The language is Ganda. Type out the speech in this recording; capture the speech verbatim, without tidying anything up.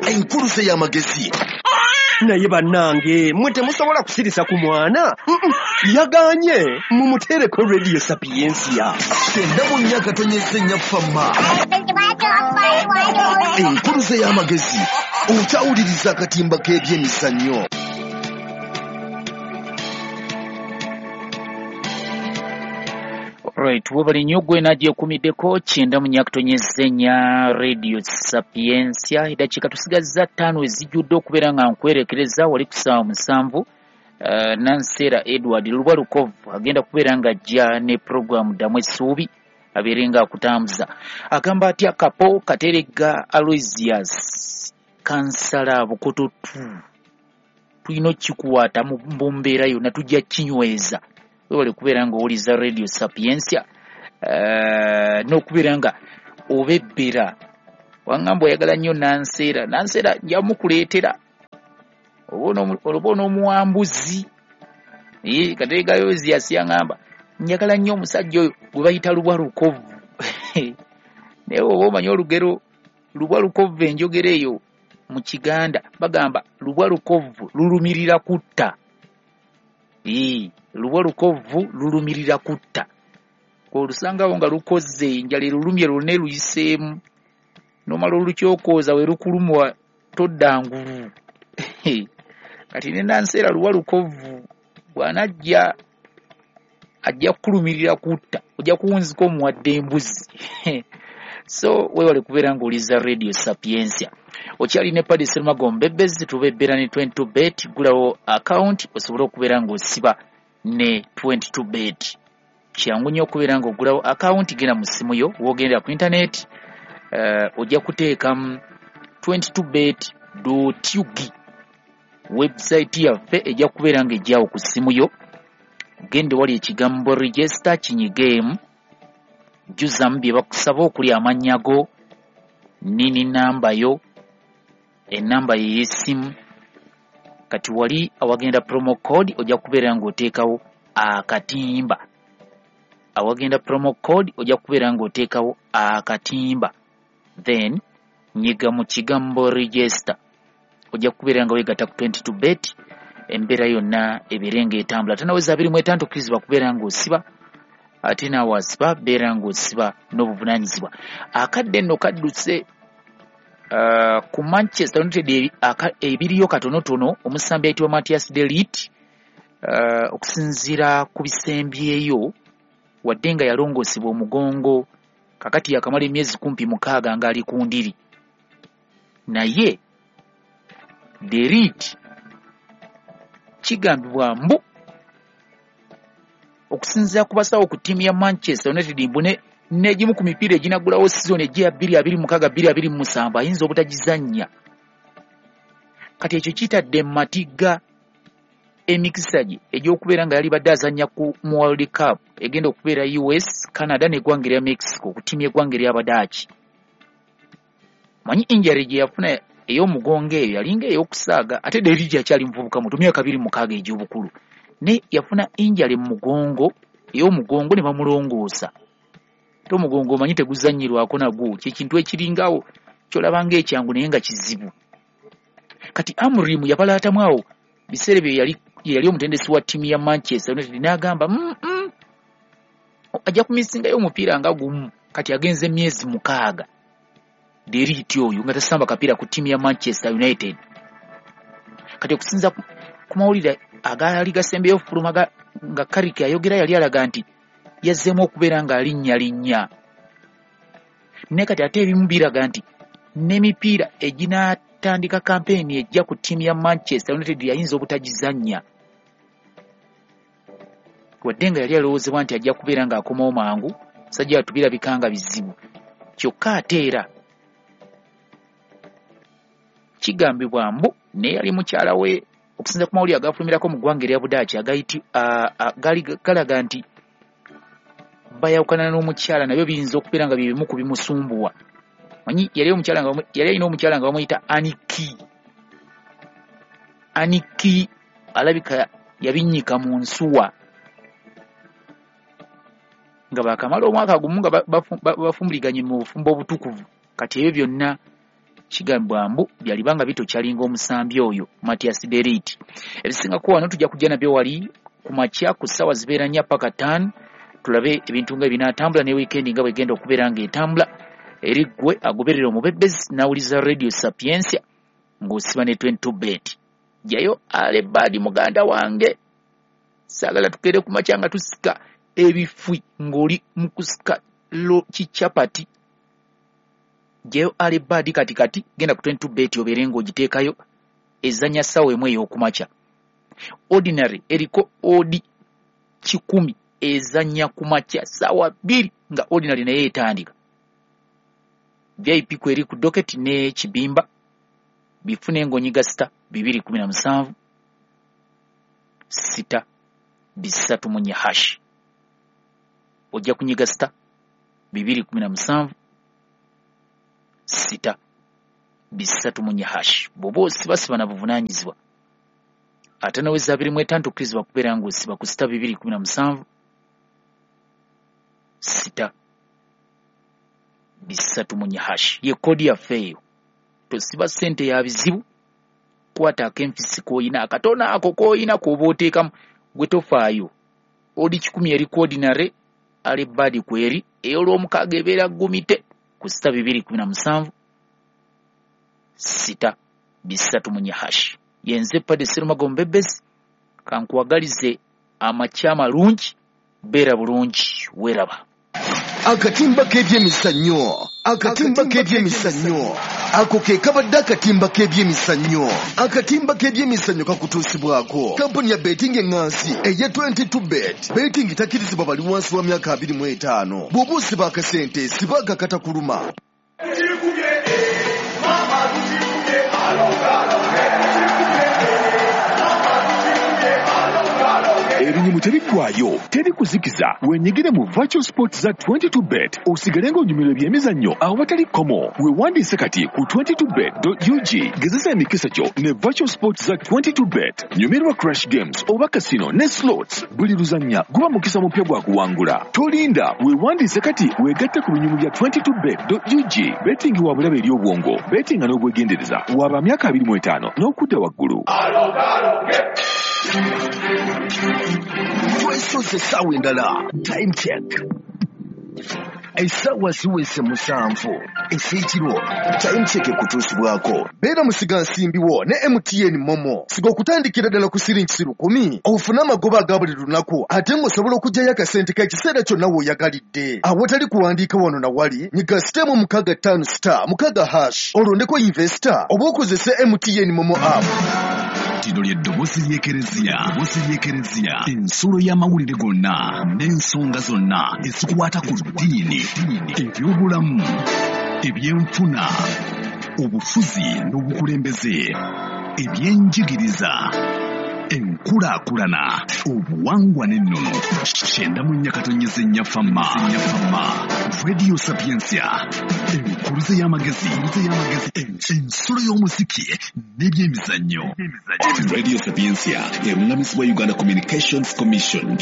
Enkuluze y'amagezi. Naye bannange mwe temusobola kusirisa ku mwana. Yaganye mumuteereko Radio Sapientia. Kyenda mu nnya akatonyeze nnya fama. Enkuluze y'amagezi. Okyawuliriza akatimba k'ebyemizannyo. Right, webale nnyo gwe nagyekumiddeko kyenda mu nnya katonyeze nnya Radio Sapientia. Eddakiika tusigazza ttaano ezijjudde okubeera nga nkwerekereza wali ku ssaawa musanvu. Uh, Nansera Edward Lubwa Lukovu agenda kubeera nga ajja ne puroguramu Ddamu Essuubi abeere nga akutambuza. Agamba atya Kapo Kateregga Aloysius Kansala Bukoto two, tulina okukikuwata mu mbeera yonna, tujja kinyweza. Webale kubeera nga owuliza Radio Sapientia uh, n'okubeera nga obebbera. Wangamba oyagala nnyo Nansera, Nansera nja mukuleetera oba onoomuwambuzi. Kateregga Aloysius yangamba njagala nnyo omusajja oyo gwe bayita Lubwa Lukovu. Naye oba omanyi olugero Lubwa Lukovu, enjogera eyo mu Kiganda bagamba Lubwa Lukovu lulumirira kutta. Ee, Lubwa Lukovu lulumirira kutta. Olusangawo nga lukoze enjala erulumye lwonna eruyiseemu, n'omala olukyokooza we lukulumwa todda ngulu. Kati ne Nansera Lubwa Lukovu bw'anajja ajja kukulumirira kutta, ojja kuwunzika omuwadde embuzi. So weewale kubeera ng'owuliza Radio Sapientia. Okyali ne Paddy Serumago Mbebezi, tubebbera ne twenty-two bet. Gulawo account osobole okubeera ng'osiba ne twenty-two bet. Kyangu nnyo okubeera ng'ogulawo account, genda mu ssimu yo, w'ogendera ku internet, uh, ojja kuteekamu twenty-two bet dot U G. Website yaffe ejja kubeera ng'ejjawo ku ssimu yo. Gende wali ekigambo register kinyigeemu, jjuzamu bye bakusaba okuli amannya go, nini namba yo, enamba ye y'essimu. Kati wali awagenda promo code ojja kubeera ng'oteekawo akatimba. Awagenda promo code ojja kubeera ng'oteekawo akatimba, then nyiga mu kigambo register, ojja kubeera nga weegatta ku twenty-two bet. Embeera yonna ebeere ng'etambula. Tanaweza abiri mu etaano tokkirizibwa kubeera ng'osiba, ate naawe asiba beera ng'osiba n'obuvunaanyizibwa. Akadde nno kadduse uh, ku Manchester United ebiriyo katonotono. Omusambi ayitibwa Matthias de Ligt, uh, okusinziira ku bisembyeyo, wadde nga yalongoosebwa omugongo, kakati yakamala emyezi kumpi mukaaga ng'ali ku ndiri, naye de Ligt kigambibwa mbu okusinziira ku basawo ku ttiimu ya Manchester United mbu n'egimu ku mipiira eginaggulawo sizoni ejja bbiri abiri mukaaga bbiri abiri mu musanvu ayinza obutagizannya. Kati ekyo kitadde mu matigga emikisa gye egy'okubeera nga yalibadde azannya ku mu World Cup egenda okubeera U S, Canada n'eggwanga erya Mexico ku ttiimu y'eggwanga ery'Abadaaki. Manyi injury gye yafuna ey'omugongo eyo yalinga ey'okusaaga, ate De Ligt akyali muvubuka muto, myaka abiri mukaaga egy'obukulu, naye yafuna injury mu mugongo ey'omugongo ne bamulongoosa. Ate omugongo omanyi teguzannyirwako nagwo, kye kintu ekiringawo ky'olaba ng'ekyangu naye nga kizibu. Kati Amorim yabalaatamu awo biseera bye yali yali omutendesi wa ttiimu ya Manchester United n'agamba mm -mm, ajja kumisingayo omupiira nga gumu. Kati agenze emyezi mukaaga De Ligt oyo nga tasamba kapiira ku ttiimu ya Manchester United. Kati okusinza ku mawulire agaali gasembeyo okufuluma nga Carrick ayogera, yali alaga nti yazzeemu okubeera ng'alinnya linnya, naye kati ate ebimu biraga nti n'emipiira eginaatandika kampeyini ejja ku ttiimu ya Manchester United yayinza obutagizannya, wadde nga yali alowoozebwa nti ajja kubeera ng'akomawo mangu. Sajja atubirabika nga bizibu. Kyokka ate era kigambibwa mbu naye yali mukyala we, okusinza ku mawulire agafulumirako mu ggwanga erya Budaaki agaali galaga nti bayawukana n'omukyala, nabyo biyinza okubeera nga bye bimu ku bimusumbuwa. Manyi yali omukyala nga yali alina omukyala nga bamuyita Aniki. Aniki alabika yabinnyika mu nsuwa nga bakamala omwaka gumu nga bafumbuliganye mu bufumbo obutukuvu. Kati ebyo byonna Kigambibwa mbu byalibanga bitokyalinga omusambi oyo Matias De Ligt. Ebisingako wano tujja kujja nabyo wali ku makya ku ssaawa zibeera nnya paka ttaano, tulabe ebintu nga binaatambula ne weekend nga bwegenda okubeera ng'etambula. Eri ggwe agoberera omubebezi n'awuliza Radio Sapientia ng'osiba ne twenty-two bet. Jjayo alebaadi muganda wange, saagala tukeere ku makya nga tusika ebifui ng'oli mu kusika lo kichapati. Jjayo alebaadi kati kati, genda ku twenty-two bet obeere ng'ogiteekayo, ezannya ssaawa emu ey'okumakya. Ordinary eriko odi kikumi ezannya ku makya ssaawa bbiri nga ordinary naye etandika. V I P kweri ku docket ne kibimba bifune ng'onyiga sita bibiri kumi na musanvu sita bisatu mu nnya hash. Ojja kunyiga sita bibiri kumi na musanvu sita bisatu mu nnya hash. Bw'oba osibasiba na buvunaanyizibwa ate naweza abiri mu etaano tokkirizibwa kubeera ng'osiba ku sita bibiri kumi na musanvu sita bisatu mu nnya hash. Ye koodi yaffe eyo. Tosiba ssente ya bizibu, kwata akenfisi k'oyina, akatono ako k'oyina k'oba oteekamu, gwe tofaayo. Odi kikumi eri ordinary, alebaadi kweri, ey'olwomukaaga ebeera gumite ku sita bibiri kumi na musanvu sita bisatu mu nnya hash. Yenze Padde Serumago Mbebezi, kankuwagalize amakya amalungi, beera bulungi, weeraba. Akatimba k'ebyemizannyo, akatimba k'ebyemizannyo, ako ke kabadde akatimba k'ebyemizannyo. Akatimba k'ebyemizannyo kakutuusibwako kampuni ya betting eŋŋansi eya twenty-two bet. Betting takkirizibwa bali wansi wa myaka abiri mu etaano. Bw'oba osiba akasente, siba akakatakuluma. Ebinyumu tebiggwayo, teri kuzikiza. Wenyigire mu virtual sports za twenty-two bet osigale ng'onyumirwa ebyemizannyo awatali kkomo. Weewandiise kati ku twenty-two bet dot U G. Gezesa emikisa gyo ne virtual sports za twenty-two bet. Nyumirwa crash games oba casino ne slots. Buli luzannya guba mukisa mupya gwa kuwangula. Tolinda, weewandiise kati weegatte ku binyumu bya twenty-two bet dot U G. Betting wa bulabe eri obwongo, bettinga n'obwegendereza. Waba myaka abiri mu etaano n'okudda waggulu. Twesoze essaawa endala. Time check. Essaawa ziweze musanvu ez'ekiro. Time check ekutuusibwako. Beera musigansimbi wo ne M T N Momo. Siga okutandikira ddala ku siringi lukumi ofune amagoba aga buli lunaku, ate ng'osobola okuggyayo akasente k'ekiseera kyonna w'oyagalidde. Awatali kuwandiika wano na wali, nyiga sitemu mukaaga ttaano star mukaaga hash olondeko investor oba okozese M T N Momo app. Lino ly'eddoboozi ly'Ekereziya, eddoboozi ly'Ekereziya, ensulo y'amawulire gonna n'ensonga zonna ezikwata ku ddiini, ebyobulamu, ebyenfuna, obufuzi n'obukulembeze, ebyenjigiriza, enkulaakulana, obuwangwa n'ennono. Kyenda mu nnya katonnyeze nnya Fama, Radio Sapientia, enkuluze y'amagezi, ensulo y'omuziki n'ebyemizannyo. Radio Sapientia erungamizibwa Uganda Communications Commission.